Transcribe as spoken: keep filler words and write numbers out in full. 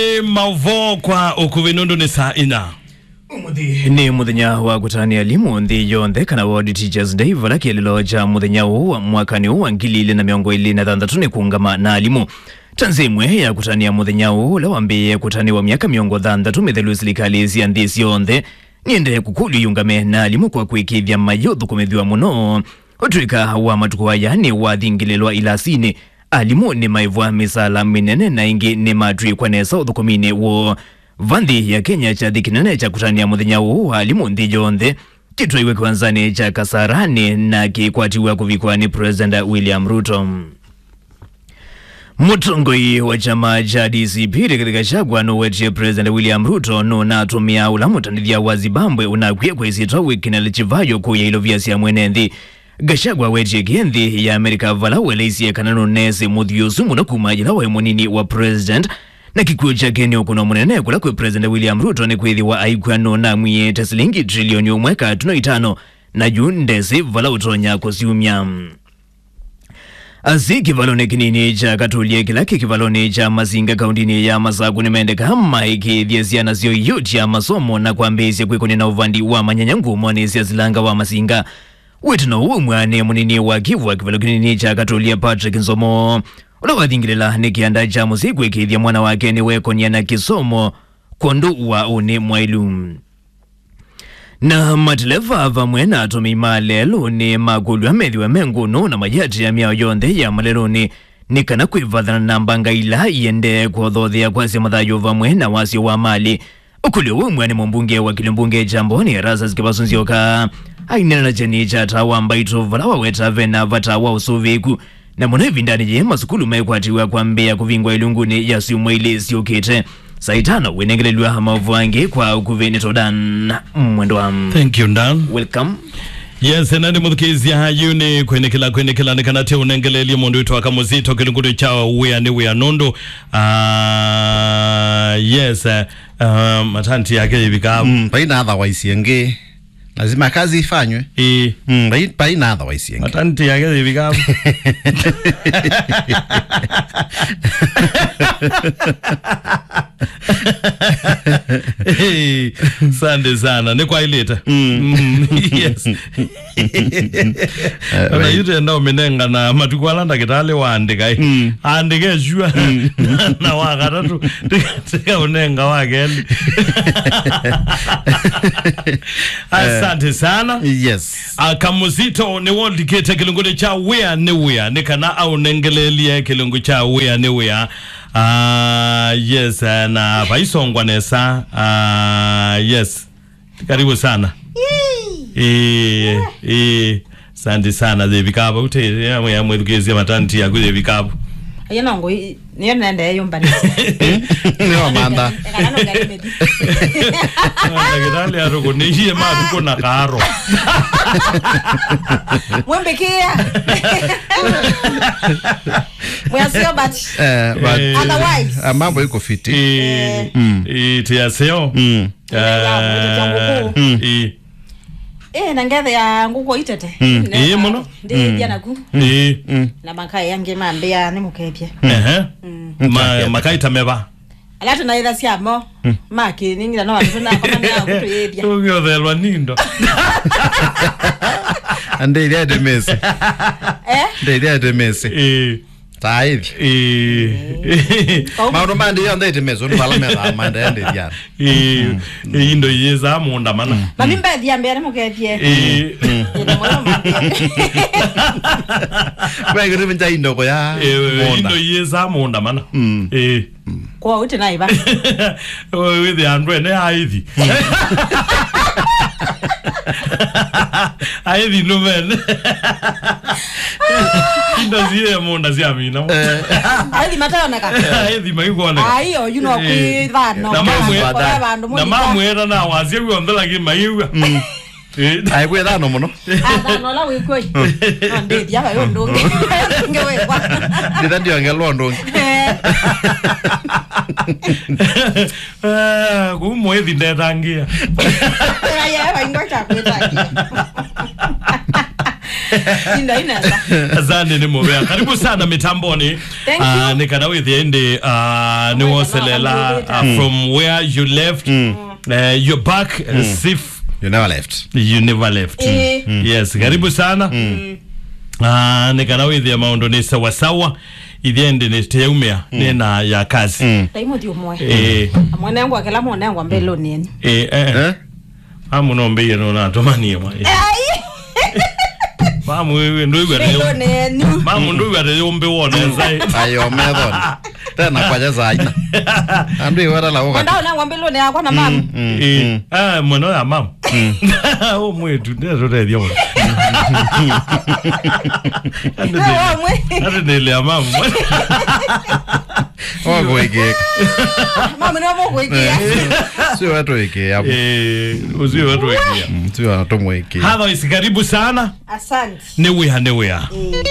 Nĩ maũvoo kwa ũkuvĩ nũndũ nĩ saa inya. Ũmũnthĩ nĩ mũthenya wa kũtanĩa alimũ nthĩ yonthe, kana World Teachers Day, vala kĩeleelo kya mũthenya ũũ wa mwakanĩ ũũ wa ngili ilĩ na mĩongo ĩlĩ na thanthatũ nĩ kũũngama na alimũ. Ta nzĩa ĩmwe ya kũtanĩa mũthenya ũũ ũla wambĩĩe kũtanĩwa myaka mĩongo thanthatũ mĩthelu, silikalĩ sya nthĩ syonthe nĩendee kũkũlw'a iũngame na alimũ kwa kwĩkĩĩthya mayĩũthũkũmĩthw'a mũno. Ũtw'ĩka wa matukũ aya nĩwathingĩlĩlwa ilasinĩ, alimũ nĩmaĩvwa mĩsaala mĩnene na ĩngĩ nĩmatw'ĩkwa nesa ũthũkũminĩ woo. Va nthĩ ya Kenya, kyathĩ kĩnene kya kũtanĩa mũthenya ũũ wa alimũ nthĩ yonthe kĩtwaiwe kĩwanzanĩ kya Kasarani na kĩkwatiw'a kũvikwa nĩ President William Ruto. Mũtongoi wa kyama kya D C P Rigathi Gachagua nũwetie President William Ruto nũnatũmĩa ũla mũtandĩthya wa Zimbabwe ũnakw'e kwa ĩsyĩtwa Winnie Chivayo kũya ilovia sya mwene nthĩ. Gachagua wetie kĩ nthĩ ya Amerika vala ũeleisye kana nũneesĩ mũthyo ũsu mũno kuma yĩla waĩ mũnini wa president, na kĩkw'ũ kyake nĩ ũkũno mũnene kũla kwĩ President William Ruto nĩkwĩthĩwa aikw'a nũnamwiĩte silingi trilioni ũmwe katuno itano, na yu ndesĩ vala ũtonya kũsyumya. Asyai kĩvalonĩ kĩnini kya Katũlye kĩla kĩ kĩvalonĩ kya Masinga kaũntĩnĩ ya Masaku nĩmendeka maĩkĩĩthye syana syoo iũtya masomo na kwambĩĩsya kwĩkũnĩa na ũvandi wa manyanya nguũmonĩ sya silanga wa Masinga. Wĩtano ũũ waumw'a nĩ mũnini wa kĩw'ũ wa kĩvalo kĩnini kya Katũlye, Patrick Nzomo, ũla wathingĩlĩla nĩ kĩanda kya mũsyai kwĩkĩĩthya mwana wake nĩwekũnĩa na kĩsomo kwondũ wa ũnĩ mwaĩlu. Na mateleva vamwe na atũmĩi ma lelũ nĩmakũlw'a methĩwe me ngũnũ na mayĩatĩĩa mĩao yonthe ya malelũnĩ, nĩ kana kwĩvathana na mbanga ila iendee kũthothea kwasya mathayũ vamwe na wasyo wa malĩ. Ũkũlyo ũũ waumw'a nĩ mũmbunge wa kĩlĩo mbunge kya Mboni, Erastus Kĩvasu Nzyoka, aineena na kyeni kya Taa wa Mbaitũ, vala waweta vena vata wa ũsũvĩĩku, na mũno ĩvindanĩ yĩĩ masukulu mekwatĩw'a kwambĩĩa kũvingwa ilungunĩ ya syumwa ilĩ syũkĩte. Saa itano wĩnengelelw'a maũvoo angĩ kwa ũkuvĩ nĩ Todan Mwendwa. Thank you, Dan. Welcome. Yes, na nĩ mũthukĩĩsya yu nĩ kwĩnĩkĩla, kwĩnĩkĩla nĩ kana tĩ ũnengeleelye mũndũ witũ aka mũzito kĩlunguto kya wĩa nĩ wĩa nũndũ, ah, yes, eh, ah, matanti yake yĩvika. Mm, vaina otherwise ĩngĩ. Lazima kazi ifanywe. Ĩĩ. Mm, vai-, vaina otherwise ĩngĩ. Matanti yake yĩvika. Hey, asante sana. Nĩ kwaĩlĩte. Mm. Mm, yes. Ona yu tenda ũmĩnenga na matukũ ala ndakĩtalĩ waandĩka, eh. Mm. Andĩke sure. Mm. Na wa katatũ, tika, tika ũnenga wa kelĩ. Asante sana. Yes. Ah, Kamũzito nĩ wondikĩte kĩlungu nĩ kya wĩa nĩ wĩa, nĩ kana aũnengelelie kĩlungu kya wĩa nĩ wĩa. Ah, yes, eh, na vaisongwa nesa. Ah, yes. Karibu sana. Ĩĩ, ĩĩ. Asante sana, Devi Kaba. Ute, ya, ya mwĩthukĩĩsya matanti yaku, Devi Kaba. Ayo no ngoi, nĩyo nende yumbanĩsya. Nĩ wamantha. Ekana no ngari medi. Ndagĩtarĩ arũkũ, nĩ iye matukũ na karo. Mwĩmbĩkĩa. Mwĩasio, but eh, but eh, otherwise, ah, mambo iko fiti. Eh, mm, eh, tiaseo. Mm. Eh, ya, mwĩtĩkya ngũkũ. Mm. Eh. Eh, na ngethe ya ngũkũ itete. Mm. Nenda, eh, mũno. Ndĩĩthya naku. Mm. Eh. Mm. Na makai angĩ mambĩa nĩ mũkethye. Mm. Ehe. Mm. Ma-, makai ta meva. Ala tũnaĩthasya mo. Mm. Makĩning'ila no andũ tũnakomania kũtũyĩthya. Ũngĩothelwa nindo. Andĩthya ĩtemesi. Eh? Ndĩthya ĩtemesi. Eh. Taithi. Ĩĩ. Maũndũ ma ndĩ yonthe ĩtemesi, ũndũ vala methaa maendeea ndĩthiana. Ĩĩ. Mm. Ĩĩ, indo iyĩsaa mũũnda mana. Mm. Mami mbethi ya mbere mũkethie. Ĩĩ. Mm. Ĩĩ, na mwana mambia. Kwa kĩtumi kya indo kũya. Ĩĩ, mũũnda. Indo iyĩsaa mũũnda mana. Mm. Ĩĩ. Kwa ũte na iva. Wĩthĩa andũ ene aithi. Aithi nũmene. Indo ziĩ mũũnda sya mina. Eh. Aithi mataoneka. Aithi maikwoneka. Ai, oyu no kwĩ thano. Na mamwe-, kwa vandũ na mũnini. Mamwĩra na wasya w'onthe lakini maiw'a. Mm. Eh. Ai, kwĩ thano mũno. Ah, thano ũla wĩkw'o. No ndĩthya vaĩ ũndũ ũngĩ. Ũngĩ wĩkwa. Ndĩtha ndiongelwa ũndũ ũngĩ. Eh. Ah, kũu mwĩthi ndetangĩa. Aya, vaingwa kya kwĩtangĩa. Inda inesa. Asante, nĩ mũvea. Karibu sana mitamboni. Thank you. Ah, nĩ kana wĩthĩe ĩndĩ, ah, nĩ woselela, ah, from where you left. Eh, you're back, eh, as if you never left. You never left. Eh. Yes, karibu sana. Ah, nĩ kana wĩthĩe maũndũ nĩ sawa sawa. Ithyĩ ĩndĩ nĩ teumĩa, nĩ na ya kazi. Taimũthi ũmwe. Eh. Amwe nengwa kĩla mũnengwa mbelũni enu. Eh, eh. Eh? Mamu no mbĩie no natũmanie mwa. Ai. Mamu wewe ndũigua nĩ. Mbelũni enu. Mamu ndũigua nĩ yũmbĩ wone sai. Ayo methon. Tena kwa jeza aina. Andũ iwata la ũka. Ndao nengwa mbelũni yakwa na mamu. Eh. Ah, mwana ya mamu. Ũ mwĩtu, nĩtũtethia mũno. Andũ nĩ-, andũ nĩlea mamu. Wakũĩkĩĩka. Mamu nĩ wamũkũĩkĩa. Sio wetũĩkĩa. Eh, ũsio wetũĩkĩa. Mm, sio wetũmũĩkĩa. Otherwise, karibu sana. Asante. Nĩ wĩa, nĩ wĩa. Eh.